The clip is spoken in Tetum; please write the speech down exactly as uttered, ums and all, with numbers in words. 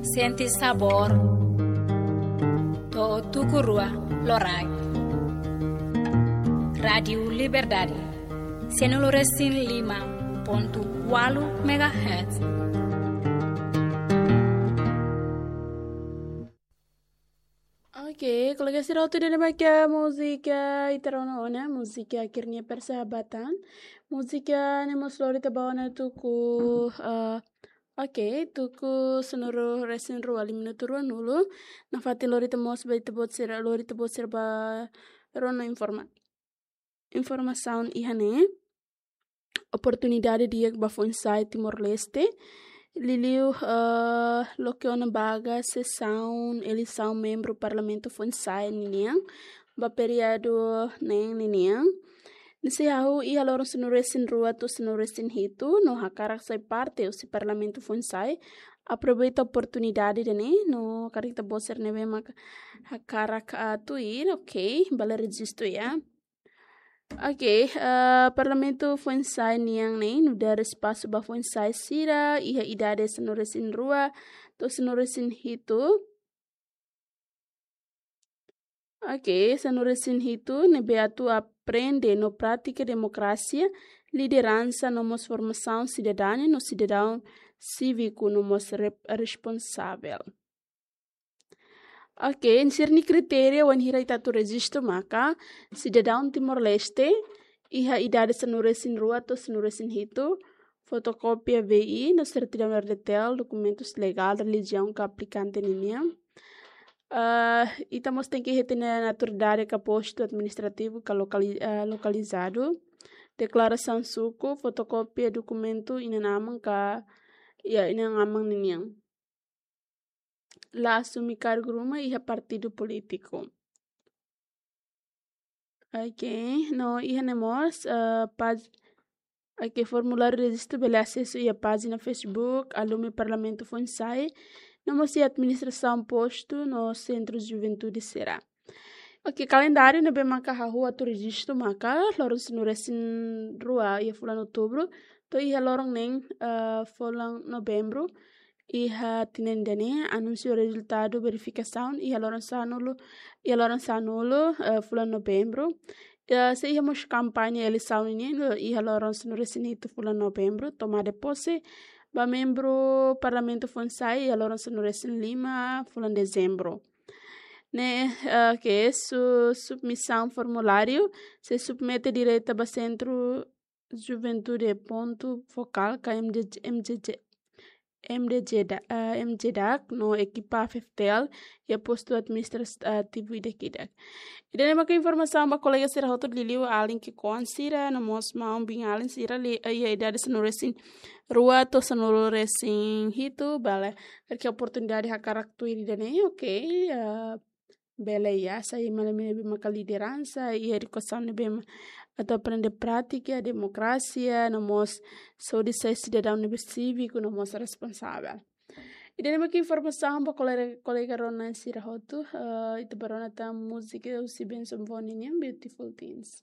Sente sabór. To'o tuku rua loraik. Rádiu Liberdade, sanulu resin lima pontu ualu megahertz. Oke, kolega sira hotu, ida-ne'e mak múzika ita rona ona, múzika Akhirnya Persahabatan. Múzika ne'e mós lori ita ba ona tuku, eh, oke, tuku sanulu resin rua, lima minutu ruanulu. Nafatin lori ita mós ba ita-boot sira, lori ita-boot sira ba rona informa-, informasaun iha ne'e. Oportunidade di'ak ba foin-sa'e Timor-Leste. Liuliu, eh, loke ona ba sesaun eleisaun membru Parlamentu foin-sa'e ninian ba períodu neen ninian. Ne'e sei hahú iha loron sanulu resin rua to'o sanulu resin hitu, no hakarak sai parte husi Parlamentu foin-sa'e, aproveita oportunidade ida-ne'e, no karik ita-boot sira ne'ebé mak hakarak, ah, tuir, oke, bele rejistu ya. Oke, eh, Parlamentu foin-sa'e nian ne'e nu'udar espasu ba foin-sa'e sira iha idade sanulu resin rua to'o sanulu resin hitu. Oke, sanulu resin hitu ne'ebé atu aprende no pratika demokrasia, lideransa no mós formasaun sidadania no sidadaun síviku no mós rep-, responsavel. Oke, sira-nia kritéria wainhira ita atu rejistu maka sidadaun Timor-Leste iha idade sanulu resin rua to'o sanulu resin hitu, fotokópia V I no sertidaun R D T L, dokumentus legál, relijiaun ka aplikante ninian. Eh, ita mós tenke iha ita-nia naturalidade ka postu administrativu ka lokali-, eh, lokalizadu, deklarasaun suku, fotokópia dokumentu inan-aman ka, ya, inan-aman ninian. La asume kargu ruma iha partidu polítiku. Oke, no iha ne'e mós, eh, páj-, oke, formuláriu rejistu bele asesu iha pájina Facebook Alumni Parlamentu foin-sa'e, no mós iha administrasaun postu no sentru juventude sira. Oke, kalendáriu ne'ebé maka hahú atu rejistu maka loron sanulu resin rua iha fulan Outubru to'o iha loron neen, eh, fulan Novembru. Iha tinan ida-ne'e, anunsia rezultadu verifikasaun iha loron sanulu, iha loron sanulu, eh, fulan Novembru. Eh, sei iha mós kampaña eleisaun ninian iha loron sanulu resin hitu fulan Novembru, tomada de pose ba membru Parlamentu foin-sa'e iha loron sanulu resin lima fulan Dezembru. Ne'e, eh, ke su-, submisaun formuláriu sei submete direta ba sentru juventude pontu fokál ka M D J, M D J, M D J da-, eh, M J dak no ekipa F F T L iha postu administrativu ida-idak. Ida-ne'e maka informasaun ba kolega sira hotu, liuliu alin ki'ikoan sira no mós maun-biin alin sira li-, eh, iha idade sanulu resin rua to'o sanulu resin hitu, bele, karik oportunidade hakarak tuir ida-ne'e, oke, eh, bele ya, sai malam ne'ebé maka lideransa, iha edukasaun ne'ebé ma-, atu aprende pratika demokrasia, no mós hodi sai sidadaun ne'ebé síviku, no mós responsavel. Ida-ne'e maka informasaun ba kolega, kolega rona sira hotu, eh, ita bá rona tan múzika husi Benson Von nian, Beautiful Things.